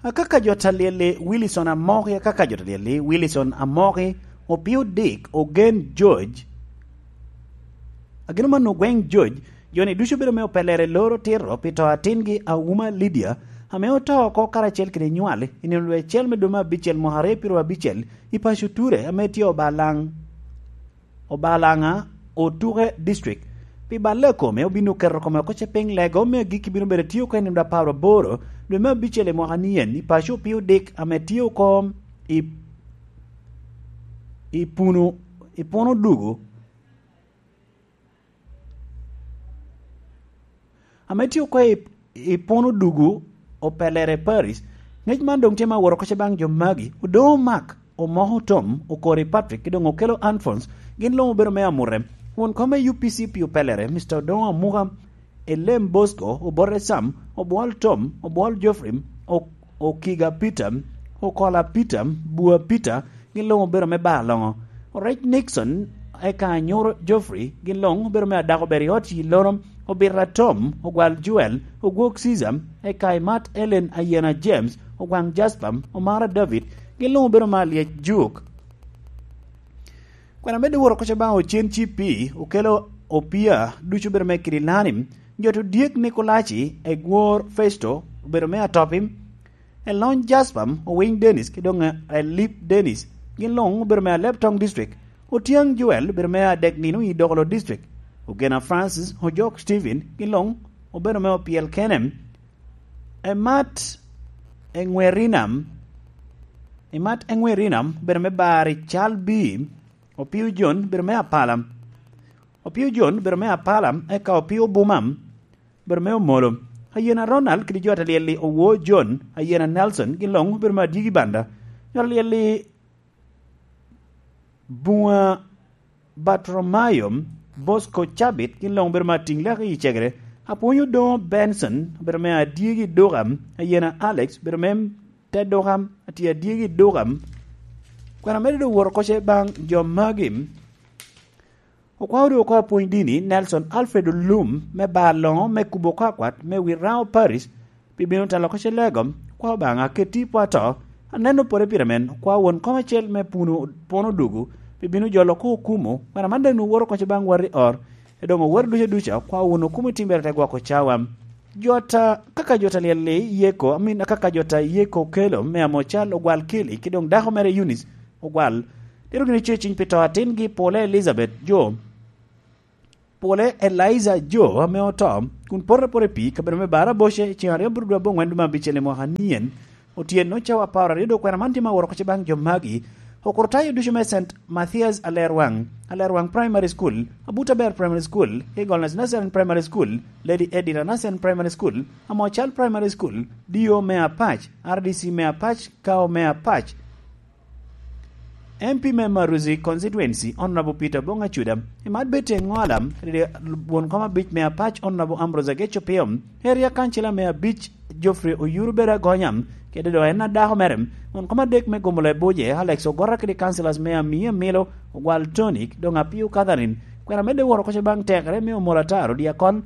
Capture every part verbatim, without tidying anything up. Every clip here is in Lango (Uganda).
Akaka jo Talyeli, Wilson Amoki, akaka jo Talyeli, Wilson Amoki, Opio Dick, Ogen George. Ageno man Ogweng George, jo-ni ducu bedo me opelere loro tito pi to atingi Auma Lydia, ame oto oko karacel kede nywal i nino lwe acel me dwe me abicel mwaka aryo pyeraryo abicel i paco Ture ame tye Obalaŋ. Obalaŋa, Otuke District. Pi balle a kome, obin oketo kome oko ce piny lego me agikki bino bedo tye oko i nino apar aboro dwe me abicel i mwaka ni en i paco Opio Dick ame tye oko i, i Puno, i Puno Dugu, ame tye oko i, i Puno Dugu, Opelere Paris. Ngec man doŋ tye me aworo oko ce baŋ jo magi, Odoŋo Mark, Omoko Tom, Okori Patrick, ki doŋ Okelo Alphonse, gin luŋ obedo me amute. Won kom me U P C pi Opelere, Mister Odoŋo Amuka, Elem Bosco, Obote Sam, Obwol Tom, Obwol Geoffrey, O-, Okiga Peter, Okola Peter, Bua Peter, gin luŋ obedo me bar loŋo. Orec Nixon, eka Anyuro Geoffrey, gin luŋ obedo me adako ber i ot i Lorom, Obita Tom, Ogwal Joel, Ogwok Caesar, eka Imat Ellen Ayena James, Ogwaŋ Jasper, Omara David, gin luŋ obedo me alyec Juk. Kwena medde woro koca baŋ Ocen Cipi, Okelo Opia, ducu obedo me Kirilani, Joto Dyek Nikolaci, Egwor Festo, obedo me Atopi, Elony Jasper, Owiny Dennis, ki doŋ Elip Dennis, gin luŋ obedo me Aleb Toŋ District. Otyang Joel obedo me adek nino i Dokolo District. Ogena Francis, Ojok Stephen, gin luŋ obedo me opyel kene. Emat Eŋwerinam, Emat Eŋwerinam obedo me bar i Cal B, Opio John obedo me Apala. Opio John obedo me Apala, eka Opio Bumam obedo me Omolo. Ayena Ronald kede jo Talyeli Owo John, Ayena Nelson, gin luŋ obedo me Adyegi Banda. Jo Talyeli Buŋa Batromayo, Bosco Cabit, gin luŋ obedo me Atiŋ Lek i Cegere. Apwony Odoŋo Benson, obedo me Adyegi Duka, Ayena Alex, obedo me te Duka, atye Adyegi Duka. Kwena medde doŋ woro koca baŋ jo magi. Okwao doŋ oko apwony dini, Nelson Alfred Olum, me bar loŋo, me kubo oko akwat, me Wiraŋo Parish, pi bino telo oko ce lego, okwao Obaŋa, aketti i pwo ato, aneno pwod i pire men, okwao won kom acel me Puno, Puno Dugu, pi bino jolo oko okumo, kwena man daŋ nwoŋo woro oko ce baŋ wati or, e doŋ owero duca duca, okwao won okumo i timbere te gwoko cawa. Jota, kaka jota Lyel-li Yeko, amin, kaka jota Yeko Okelo, me Amocal, Ogwal Keli, ki doŋ dako mere Eunice, Ogwal. Tito gini ce ciny pi to atingi Pole Elizabeth Jo, Pole Eliza Jo ame oto, kun pote apota i pii, kabedo me Baraboce, i ceng aryo bur dwe aboŋwen dwe me abicel i mwaka nien, otyeno cawa apar aryo dok kwena man tye ma woro oko ce baŋ jo magi. Okuro tayo ducu me Saint Mathias Alerwaŋ, Alerwaŋ Primary School, Abuta Ber Primary School, Eagle Nursery Primary School, Lady Edina Nursery Primary School, Amocal Primary School, D O me Apac, R D C me Apac, Kao me Apac, M P me Maruzi Constituency, Honorable Peter Bong Acuda, Emat Betty Engola, kede won kom abic me Apac, Honorable Ambrose Ageco Pio, Area Councilor me abic, Geoffrey Oyuru Beda Gonya, kede doŋ en adako mere, won kom adek me Gomola Ebuje, Alex Ogora kede councillors me Amia Milo, Ogwal Tony, doŋ Apio Catherine, kwena medde woro koca baŋ tekere me Omola Taro Diakon,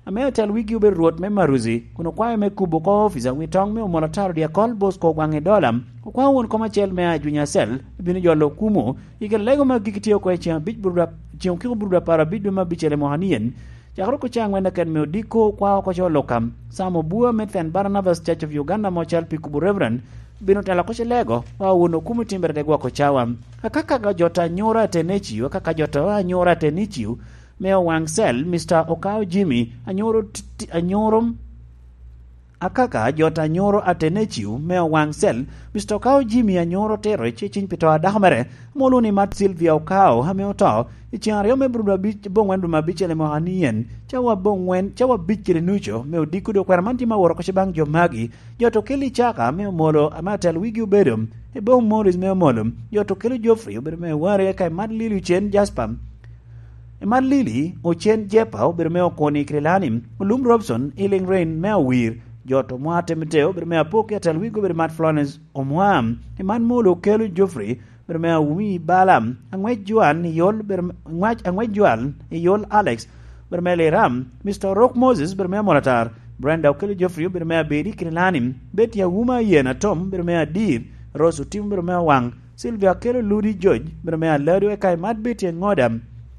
ame atel wigi obedo Rwot me Maruzi, kun okwayo me kubo oko ofica wi toŋ me Omola Taro Diakol Bosco Ogwaŋ i Dola, okwao won kom acel me Ajunya Cell, bino jolo okumo, i kede lego me agikki tye oko i ceŋ abic bur dwe, ceŋ okiko bur dwe apar abic dwe me abicel i mwaka nien, cakere oko ceŋ angwen keken me odiko okwao oko ce oluka, Sam Obua me Saint Barnabas Church of Uganda Amocal pi kubo Reverend, bino telo oko ce lego, okwao won okumo i timbere te gwoko cawa. Akaka jota Anyura Ateneccio, akaka jota Anyura Ateneccio, me Owaŋ Cell, Mister Okao Jimmy, Anyuro T-, T-, Anyuro, akaka jot Anyuro Ateneccio, me Owaŋ Cell, Mister Okao Jimmy Anyuro Tero, ce ciny pi to a dako mere, ame olwoŋo ni Mat Sylvia Okao, ame oto, i ceŋ aryo me bur dwe abic, aboŋwen dwe me abicel i mwaka nien, cawa aboŋwen, cawa abic kede nucu, me odiko dwe kwena man tye ma woro oko ce baŋ jo magi, jot Okelo Icaka, me Omolo, ame atel wigi obedo, Ebong Morris me Omolo, jot Okelo Geoffrey, obedo me Ware, eka Emat Lili Ocen Jasper, Emat Lili Ocen Jepa, obedo me Okoni Krilani, Olum Robson, Healing Rain me Awir, jot Omwa Temeteo, obedo me Apok, ki atel wigi obedo Mat Florence Omwa, Emat Molo Okelo Geoffrey, obedo me Awumi Bala, Angwec Joan Iyol, obedo me, Angwec, Angwec Joan Iyol Alex, obedo me Liram, Mister Orok Moses, obedo me Amolatar, Brenda Okello Geoffrey obedo me abiri, Kilani Betty Awuma Yen Atom obedo me adir, Rose Otim obedo me awaŋ, Sylvia Okello Ludi George obedo me alado, eka imat Betty Engoda,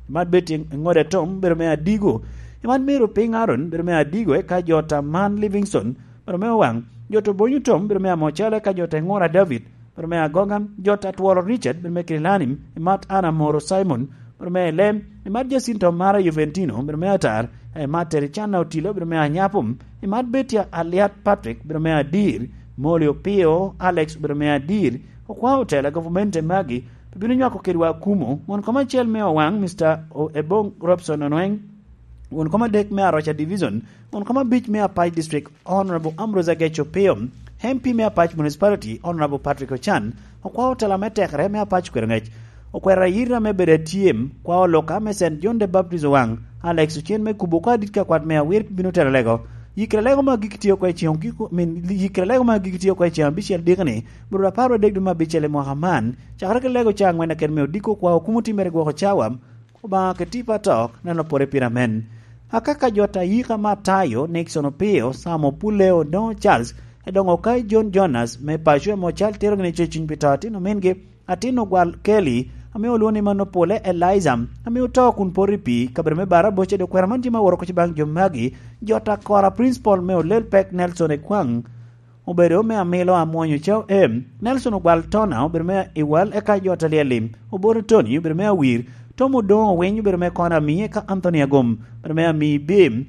imat Betty Engoda Tom obedo me adigo, imat Mary Opiny Aaron obedo me adigo, eka jo ta Man Livingstone obedo me awaŋ, jo ta Obonyo Tom obedo me amocalo, eka jo ta Engora David obedo me agoga, jo ta Twolo Richard obedo me Kilani, imat Anna Moro Simon obedo me elem, imat Jacinto Mara Juventino obedo me atar, imat Tericana Otilo obedo me anyapo, imat Betty Aliat Patrick obedo me adir, Molly Opio Alex obedo me adir, okwa otela gavumenti magi, pe bino nywako kedwa akumo, won kom acel me Owaŋ, Mister O-, Ebong Robson Onweng, won kom adek me Aroca Division, won kom abic me Apac District, Honorable Ambrose Agech Opio, M P me Apac Municipality, Honorable Patrick Ochan, okwa otela me tekere me Apac Kwero Ngec, okwero ayira me bedo atyem, kwa oloka me Saint John the Baptist Owaŋ, Alex Ocen me kubo kwa dit ka kwat me awir bino telo lego, yikere lego ma gik tio kwa i ceŋ ogiko, min, yikere lego ma gik tio kwa i ceŋ abicel dikni, bro apar wadek dwe me abicel i mwaka man, cakere ki lego ca angwen aket me odiko kwa okumo timmere gwoko cawa, Obaŋa ke tipo atok, neno pore pire amen. Akaka jo ta yika Matayo, Nixon Opio, Sam Opuleo, Dongo Charles, Edongo Okai, John Jonas, me paco ame ocal tero gini ceciny pi to atin omingi, atin ogwal Kelly, ame olwoŋo ni Manopole Eliza, ame oto kun poto i pii, kabedo me Baraboca, dok kwero man tye ma woro koc baŋ jo magi, jo ta Kora Principal me Olel Pek Nelson Ekwaŋ, obedo me amilo amwonyo cao em. Nelson Ogwal Tona obedo me iwal, eka jo ta Lyel-li, Obote Tony obedo me awir, Tom Odongo Owiny obedo me kona ami, eka Anthony Agom obedo me ami bim,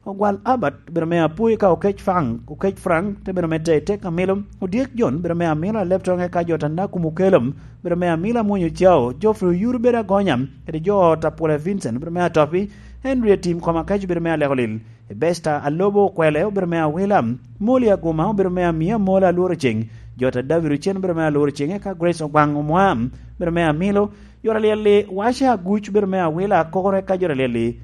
Ogwal Albert obedo me apui, ka Okec Frank, Okec Frank te bedo me te tek amilo, Odyek John obedo me amilo aleb toŋe, ka jo ta Nakum Okelom obedo me amilo amwonyo cao, Geoffrey Oyur obedo agonya, kede jo ta Pule Vincent obedo me atopi, Henry Atim Kom Akec obedo me aleko lil, Ebesta Alobo Okwele obedo me awila, Moli Aguma obedo me amia Mola alworo ceŋ, jo ta David Ocen obedo me alworo ceŋ, eka Grace Ogwaŋ Omwam obedo me amilo, jo ta Lyel-li Waca Aguc obedo me awila akore, eka jo ta Lyel-li